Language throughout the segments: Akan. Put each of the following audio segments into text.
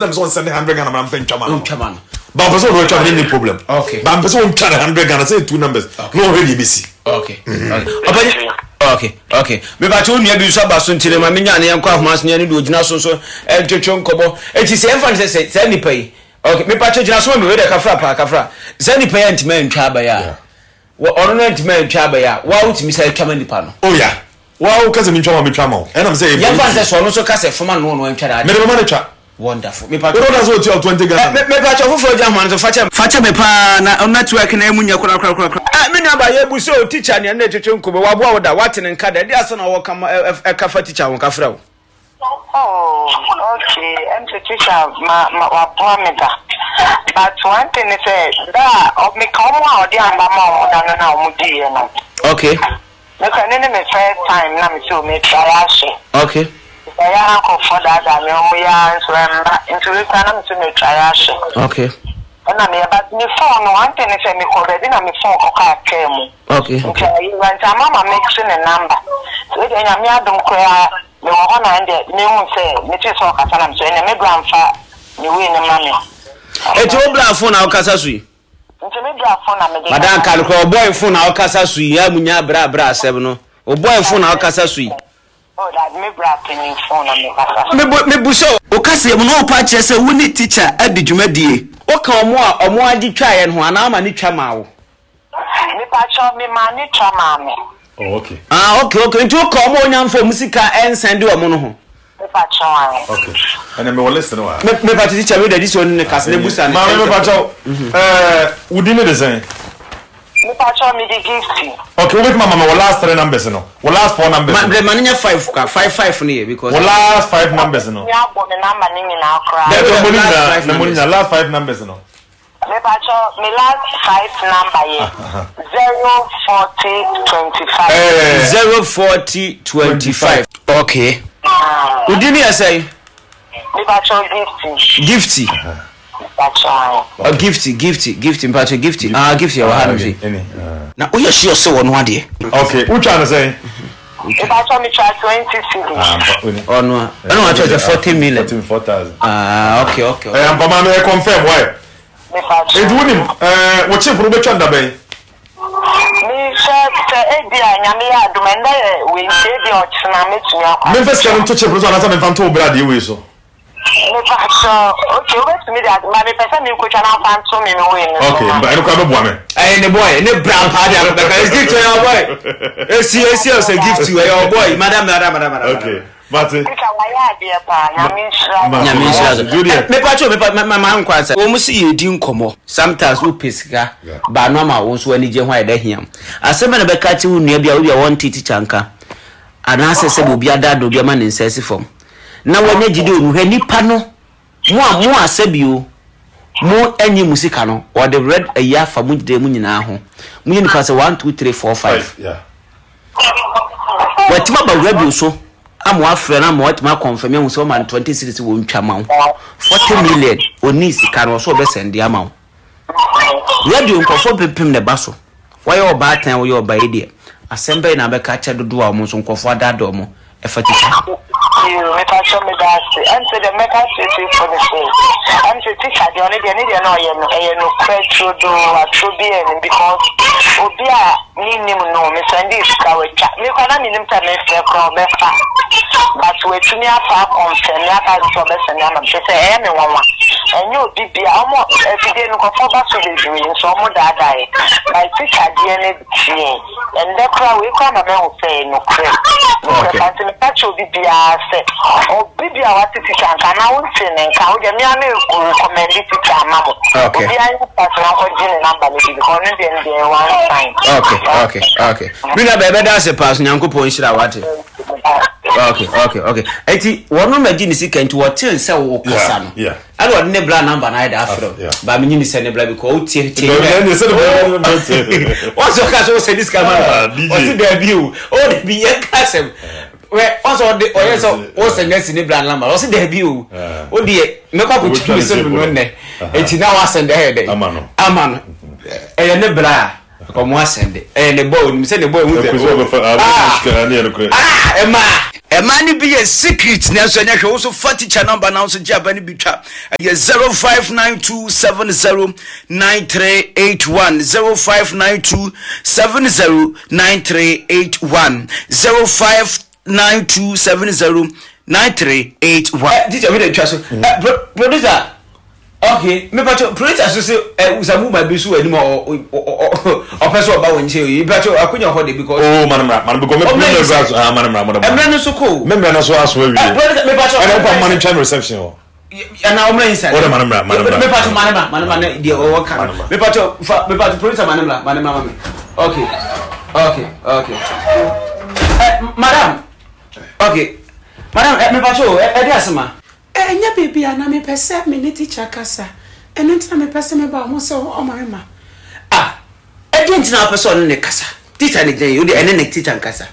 Na mpɛ sɛ ɔnsɛnde hundred Ghana ma mpɛ ntwa ma no. Ntwa ma no. Ba mpɛ sɛ ɔno atwa ma no ni problem. Okay. Ba mpɛ sɛ ɔntwa ne hundred Ghana sɛ two numbers. Okay. Na ɔhwɛ deɛ ebesi. Okay. Okay. Okay. Okay. Mepa wo nua bi nso aba so nti no ma menya ne yɛnkɔ ahoma so ne yɛne deɛ ogyina so nso ntwetwe nkɔmmɔ. Eti sɛ yɛmfa no sɛ sɛ saa nipa yi. Okay. Mepa kyɛw gyina so ma me wei deɛ kafra paa kafra. Saa nipa yi antumi antwa aba yi a. Wɔ ɔno no antumi antwa aba yi a, wo a wotumi san twa ma nipa no. Oh yeah. Wo a woka sɛ mentwa ma wo metwa ma wo. Ɛnam sɛ ɛyɛ Yɛmfa no sɛ sɛ ɔno nso ka sɛ foma no ɔno antwa n'adeɛ. Mede bɛma no twa. Wonderful. Mepa Wode woda sɛ ɔtua wo 20 Ghana no. Me mepa kyɛw foforɔ gyina ahoma no so fa kyɛ me. Fa kyɛ me paa na network no ɛmu nyɛ korakorakorakora. Eh me nua ba yɛ bu sɛ o teacher nea ne twetwe nkɔmɔ waboa wo da wate ne nka da ɛde asɛm na wɔka ma ɛka fa teacher ho ka frɛ wo. Oh okay ɛm sɛ teacher ma ma waboa me da but one thing ne sɛ da a meka ɔmo a ɔde amba ma ɔmo da no na ɔmo diiɛ no. Okay. Mekɔ ɛno ne me first time na me sɛ o me try ahwɛ. Okay. Ɛyɛ a nkorɔfoɔ daadaa me ɔmo yɛ ara nso ɛmba nti wei koraa na me sɛ me try ahwɛ. Okay. Ɛna meyɛ but me phone no one thing ne sɛ mekɔ baabi na me phone kɔkaa kaa mu. Okay. Nti ayera nti ama ma mekye ne number. Wei deɛ Nyame adom koraa mewɔ hɔ na ɛndeɛ mehu sɛ metee sɛ ɔkasa na mesɛ ɛnneɛ me bra mfa ne wei no ma me. Eti wo bra phone na wokasa so yi? Nti me bra phone na mede Madam kasa. ka nokorɛ wo boy phone na wokasa so yi a munya bra bra asɛm no wo boy phone na wokasa so yi. Oh daabi me bra panyin phone na me kasa so. Mebu mebu sɛ Wo kaseɛ mu no wopɛ akyerɛ sɛ wo ne tikya adi dwumadie. Woka ɔmo a ɔmo agye twaeɛ no ho anaa woma no twa maa wo? Mepakyɛw me maa no twa maa me. Oh okay. Ah okay okay nti woka ɔmo a onya nfa ɔmo sika ɛnsan di ɔmo no ho. Mepakyɛw ae. Okay ɛnna mewɔ list no wɔ ha. Me mepakyɛw teacher wei deɛ gye sɛ ɔne ne kasa na ebusa no. Maame mepakyɛw ɛɛ wo din ne de sɛn? Mepakyɛw me de Gifty. Okay wobɛtumi ama me wo last three numbers no wo last four numbers Ma no. ma no nyɛ five kwa five five no yɛ because. Wo last five numbers no. Mɛtumi abɔ me number no nyinaa koraa. Dabi Dabi mmɔ ne last nyinaa five na mmɔ ne numbers. nyinaa last five numbers no. Mepakyɛw me last five number yɛ 04025. Ɛɛ. 04025 okay. Wo din no yɛ sɛn? Mepakyɛw Gifty. Gifty. Mepakyɛw ae. Oh, Gifty, Gifty, Gifty, mepakyɛw Gifty. Ah, Gifty ɛwɔ ha nom sei. Na woyɛ sure sɛ wɔno adeɛ? Okay, wotwa no sɛn? Mepakyɛw metwa 20 cedis. Ah, mpa, oni. Ɔno a, ɛna wɔatwerɛ sɛ 40 million. 44,000. Ah, okay, okay. Ɛyɛ ampa maame, ɛ confirm, why? Mepakyɛw. Enti wonim, ɛɛ, wo chip no wobɛtwa no da bɛn? Mehwɛ sɛ ebia Nyame yɛ adom a, ɛndɛ yɛ wei nti ebia ɔkyena mɛtumi akɔ Memfa sika no akɔtwa. nto chip no so anaasɛ memfa nto wo bra deɛ wei so? Mepakyɛw, okay, wobɛtumi de ma mepɛ sɛ menkotwa na mfa nto me me wei no so Okay, ma mba me. ɛno koraa bɛboa me. Ɛyɛ ne boy, ne bra paa de akɔbɛka. It's gift ɛyɛ ɔboy. Esi esi ɔsɛ gift ɛyɛ ɔboy. Madam madam madam madam. Okay, mate. Teacher wayɛ adeɛ paa, Nyame nhyira wo. Nyame nhyira so. Juliet. Mepa kyɛw mepa ma ma nkɔ ansa. Wɔn si yɛ di nkɔmɔ. Sometimes wo pɛ sika ba no ama wo nso anigye ho ayɛ dɛ hiam. Asɛm bɛ na bɛka akyerɛ wo nua bi a obi a wɔnte teacher nka anaasɛ sɛbi obi adaadaa obi ama ne nsa asi fam na wanya gyidi wɔ mu hwɛ nipa no mo a mo a sɛbi o mo anyi mo sika no wɔde red ayi afa mo gyidie mu nyinaa ho mo yɛ nipa sɛ 1 2 3 4 5 Watumi aba radio so ama wafrɛ no ama watumi akɔnfɛm ahu sɛ ɔma no 20 cedis wɔ ntwa ma wo 40 million ɔnii sika no ɔsɛ ɔbɛsɛnde ama wo radio nkurɔfoɔ mpempem na ɛba so wayɛ ɔbaatan woyɛ ɔba yi deɛ asɛm bɛyɛ na abɛka akyɛ dodoɔ a wɔn nso nkurɔfoɔ adaadaa wɔn ɛfa tikya ho. Yoo mepakyɛw meda ase ɛm sɛ deɛ mɛka akyerɛ tiefoɔ ne sɛ ɛm sɛ teacher deɛ ɔno deɛ ne deɛ na ɔyɛ no ɛyɛ nokorɛ turodoo atorɔ biaa nnim because obi a mennim no me sɛndee sika watwa me koraa na mennim sɛ mefrɛ koraa ɔbɛfa but watumi afa akɔnfɛme aka sɛ ɔbɛsɛnde ama me kyerɛ sɛ ɛyɛ me nwanwa ɛnyɛ obi bia ɔmo afidie no nkurɔfoɔ ba so bebree nso ɔmo daadaa yɛ but teacher deɛ ne deɛ Ɛndɛ koraa wei koraa ma mahu sɛ ɛyɛ nokorɛ. Nokorɛ Okay. paa nti meka kyerɛ obi biara sɛ obi biara a wate teacher nka anaa wontee ne nka wo deɛ me ara me recommend teacher ama mo. Okay. Obiara nyɛ fast na nkɔgye ne number no bi because ɔno deɛ ne deɛ ɛyɛ one sign. Okay, okay, okay. Me nua bɛɛ bɛda ase paa so Nyankopɔn nhyira wate. Okay, okay, okay. Eti wɔn ma gye ne sika nti wɔte sɛ wɔkasa no. Yeah, yeah. Ɛna ɔde ne bra number no ayɛ de afrɛ wo. Ba menye ne sɛ ne bra because wo tie tie. Daabi ɛne sɛ ne bra number tie. Wɔn sɛ ɔka sɛ ɔsɛ ne sika ma Ah, no. DJ. Ɔsi daabi o. O daabi yɛn ka asɛm. Wɛ wɔn sɛ ɔde ɔyɛ sɛ ɔsɛ ne si ne bra number. Ɔsi daabi o. Ah. O deɛ mɛkɔ akɔtwa Ɔbɛtwa mi ne sɛ tape no no. nnɛ. Aha. Eti na wasɛn de ayɛ dɛ. Ama no. Ama no. Ɛyɛ ne bra a. Ɔmo asɛn de. Ɛyɛ ne bɔ onim sɛ ne bɔ ehu sɛ. Ɛkò sɛ ɔbɛfa ah, Ah. sika ne yɛ no korɛ. Ah ɛmaa. Ɛmaa no bi yɛ secret nanso ɛnyɛ hwɛ wo nso fa teacher number na wo nso gye aba no bi twa ɛyɛ 0592709381 0592709381 0592709381. Eh, teacher mi de twa so. Eh, producer. Okay, me pacho producer so se eh usamu ma bi so anim o ɔpɛ sɛ ɔba wo nkyɛn yi pacho akonya hɔ de because Oh, man mra, man because me me mra so, ah man mra, man mra. Emra no so ko. Me mra no so aso awie. Eh, producer me pacho. Ɛna wopa man ntwa reception hɔ. Ana ɔmra inside. Ɔde man mra, man mra. Me pacho man mra, man mra ne deɛ ɔwɔ ka no. Me pacho fa me pacho producer man mra, man mra ma me. Okay. Okay, okay. Eh, madam. Okay. Madam, eh, me pacho eh, eh, asema. Ɛnyɛ biribi a na mepɛ sɛ me ne tikya kasa, ɛno nti na mepɛ sɛ meba wo ho sɛ ɔma me ma. Ah, ɛdeɛn nti na wopɛ sɛ ɔne no kasa? Tikya no gyina yi, wo deɛ ɛne ne tikya nkasa.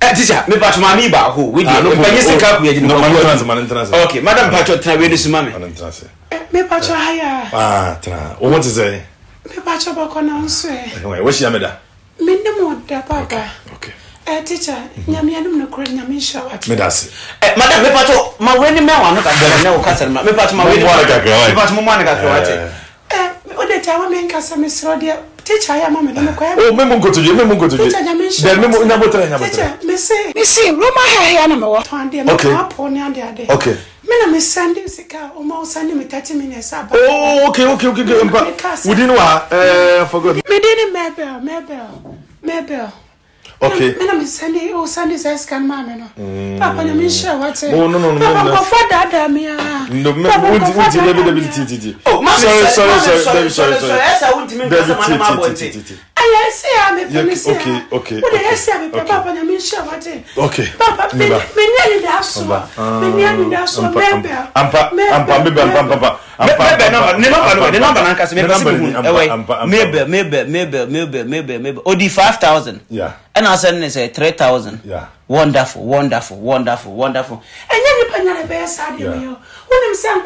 Eh, tikya, mepatwo maame yi baako, wei deɛ, mpanyin sɛ ka kuya gyina kɔ. Okay, madam patwo tena wei no so ma me. Mepatwo ha ya. Ah, tena. Wo ho te sɛ? Mepatwo bɔkɔ na wo nso ɛ? Woahyia me da? Me ne mo da papa. Okay. Eh teacher, nyame anim no kura nyame nhyira wa. Me da se. Eh madam me pato ma we ni me wa no kakra na wo kasa ma. Me pato ma we ni. Mo kakra wa. Me pato mo mo na kakra wa te. Eh o de ta wa me nkasa me sro de teacher ya ma me no me kwa. Oh me mo nkotodwe me mo nkotodwe. Teacher nyame nhyira. De me mo nyabotre nyabotre. Teacher me se. Me se Roma ha ha na me wo. Ton de me ka po ne ade ade. Okay. Me na me send sika o ma o send me 30 minutes aba. Oh okay okay okay okay. Mpa. Wudi no wa eh forgot. Me din ne Mabel Mabel Mabel. Okay. Me na me send o send sa sika no ma me no. Papa na me nhyira wate. Oh no no no. Papa nkɔfo daadaa me a. No me wunti wunti debi debi ti ti ti. Oh ma sorry sorry sorry debi sorry sorry. Esa wuntimi nkasa ma na ma abɔnten. Ɛyɛ ɛsɛ a mepɛ ne sɛ okay okay. Wode ɛsɛ a mepɛ papa na me nhyira wate. Okay. Papa me me ni anidasoɔ. Me ni anidasoɔ Mabel. Ampa ampa mebe ampa ampa ampa. Mabel number ne number no ne number na nkasa mepɛ sɛ mehu ɛwɛ Mabel Mabel Mabel Mabel Mabel Mabel odi 5000. Yeah. Ɛna asɛn ne sɛ 3000. Yeah. Wonderful wonderful wonderful wonderful. Ɛnyɛ nipa nyare bɛyɛ saa deɛ meyɛ. Wonim sɛ.